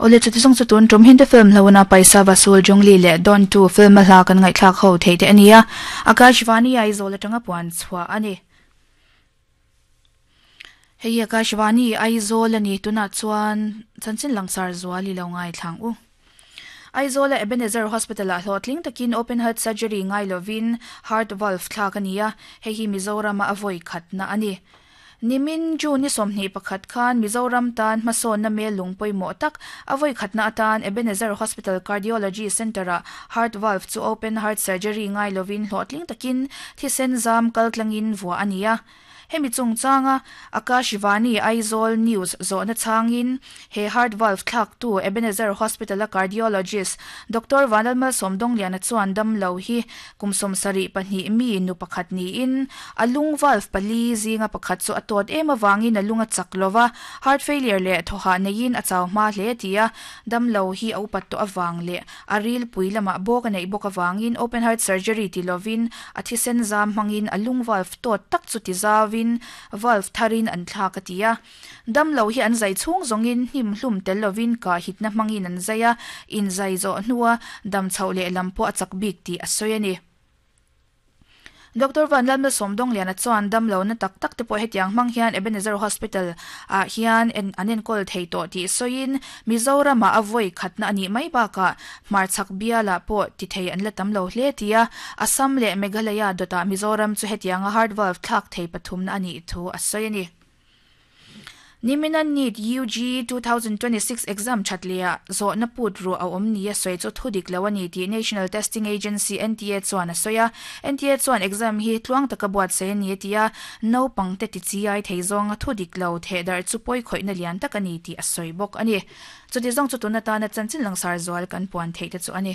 Awle chuti zawng chu tun tum Hindi film hlona Paisa Vasool Jungli leh Don 2 film a hla kan ngaihthlak ho theih te a ni a, Akashvani Aizawl atanga puan chhuah a ni. Hei hi Akashvani Aizawl a ni, tunah chuan chanchin langsar zual i lo ngaithlang u. Aizawla Ebenezer Hospital-ah hlawhtling takin open heart surgery ngai lovin heart valve thlak a ni a, hei hi Mizorama a vawi khatna a ni. Nimin June ni 21 khan Mizoram tan hmasawnna mel lung pawimawh tak a vawi khatna atan Ebenezer Hospital Cardiology Centre-ah heart valve chu open heart surgery ngai lovin hlawhtling takin thisen zam kaltlangin vuah a ni a. Hemi chungchanga Akashvani Aizawl News zawhna chhangin he heart valve thlaktu Ebenezer Hospital-a cardiologist Doctor Vanlalmalsawm Dongliana chuan damlo hi Kum 72 mi nu pakhat niin, a lung valve pali zinga pakhat chu a tawt em avangin a lung a chak lo va, heart failure leh thawhah neiin a chau hma hle ti a, damlo hi a upat tawh avang leh a rilpui lamah bawk a neih bawk avangin open heart surgery ti lovin a thisen zam hmangin a lung valve tawt tak chu ti zauvin valve tharin an thlak a ti a. Damlo hi an zai chhung zawngin hnim hlum tel lovin kah hitna hmangin an zai a, inzai zawh hnua dam chhoh leh lam pawh a chak bik tih a sawi a ni. Doctor Vanlalma Sawmdawngliana chuan damlo na tak tak te pawh hetiang hmang hian Ebenezer Hospital ah hian an enkawl thei tawh tih sawiin Mizoramah a vawi khatna a nih mai bakah hmarchhak bialah pawh ti thei an la tam lo hle ti a, Assam leh Meghalaya dawtah Mizoram chu hetianga heart valve thlak thei pathumna a nih thu a sawi a ni. Nimina NEET UG 2026 exam that leh ah zawhna put ruah a awm ni a sawi chu thu dik lo a ni tih National Testing Agency, NTA, chuan a sawi a. NTA chuan exam hi tluang taka buatsaih a ni a ti a, naupangte ti chi ai thei zawnga thu dik lo thehdarh chu pawi khawihna lian tak a ni tih a sawi bawk a ni. Chuti zawng chu tun atana chanchin langsar zual kan puan theih te chu a ni.